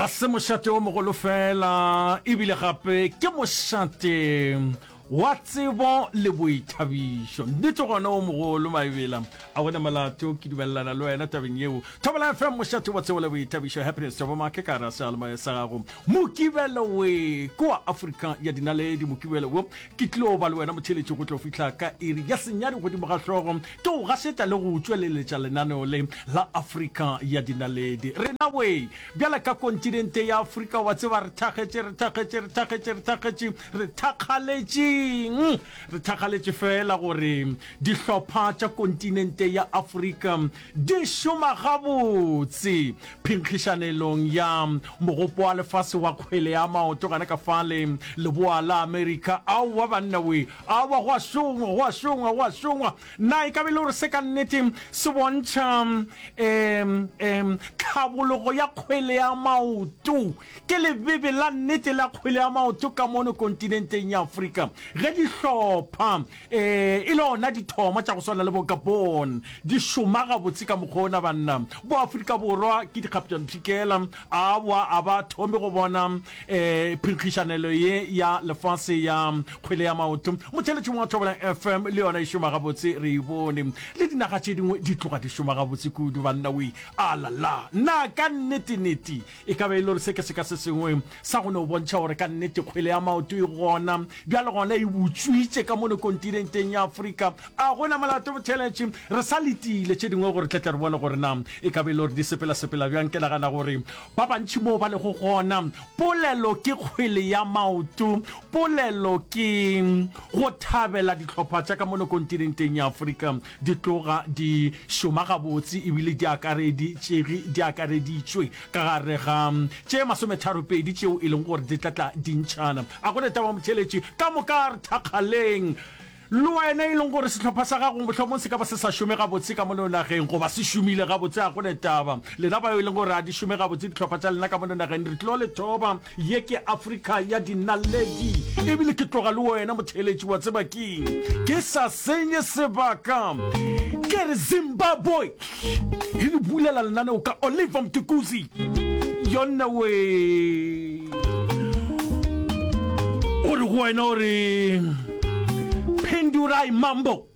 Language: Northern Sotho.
Ga se mošate o mogolo fela, e bile gape ke mošate wa tsebo le boithabišo. Nnete gona o mogolo Maebela, a gona molato, ke dumelelana le wena tabeng yeo. Thobela FM, mošate wa tsebo le boithabišo. Happiness Thabomake ka gare ga seyalemoya sa gago. Mokibelo we, kua Afrika ya dinaledi. Mokibelo wo ke tlo ba le wena motheeletši go tlo fihla ka iri ya senyane godimo ga hlogo. Ke go gašetša le go tšweleletša lenaneo le la Afrika ya dinaledi. Rena we, bjale ka kontinente ya Afrika, wa tseba re thakgetše, re thakgetše, re thakgetše, re thakgetše, re thakgaletšeng? Re thakgaletše feela gore dihlopha tša kontinente ya Afrika di šoma gabotse phenkgišanelong ya Mogopo wa Lefase wa Kgwele ya Maoto gana ka fale Leboa la Amerika. Aowa banna we, Aowa, go a šongwa, go a šongwa, go a šongwa. Na e ka be e le gore se ka nnete se bontšha um, um, tlhabologo ya kgwele ya maoto? Ke lebebe la nnete la kgwele ya maoto ka mono kontinenteng ya Afrika, ge dihlopha um e le ona dithomo tša go swana le bo Gabon di šoma gabotse ka mokgwa ona, banna. Bo Afrika Borwa ke dikgaptšampshikela, aowa, a ba thome go bona E, phenkgišanelo ye ya lefase ya kgwele ya maoto motheletšong wa Thobela FM le yona e šoma gabotse, re e bone. Le dinaga tše dingwe di tloga di šoma gabotse kudu, banna we. Alala! Na ka nnete-nete e ka ba e le gore se ke seka se sengwe sa go no bontšha gore ka nnete kgwele ya maoto e gona bjale gona e butšwitše ka mono kontinenteng ya Afrika? A go na molato botheletši, re sa letile tše dingwe gore tle tle re bone gore na e ka ba e le gore di sepela-sepela bjang. Ke nagana gore Ba bantši moo ba lego gona, polelo ke kgwele ya maoto, polelo ke go thabela dihlopha tša ka mono kontinenteng ya Afrika di tloga di šoma gabotse ebile di akareditšege, di akareditšwe ka gare ga tše masometharopedi tšeo e leng gore di tla tla di ntšhana. A go ne taba motheeletši, ka moka a re thakgaleng. Le wena e leng gore sehlopha sa gago mohlomong se ka ba se sa šome gabotse ka mono nageng goba se šomile gabotse, ga go ne taba. Lena bao e leng gore ga di šome gabotse dihlopha tša lena ka mono nageng, re tlo le thoba. Ye ke Afrika ya dinaledi. Ebile ke tloga le wena motheeletši, wa tseba keng? Ke sa senye sebaka, ke re Zimbabwe e le bulela lenaneo ka Oliver Mtukudzi. Yonna wee. O re go wena o re Phendurai Mambo.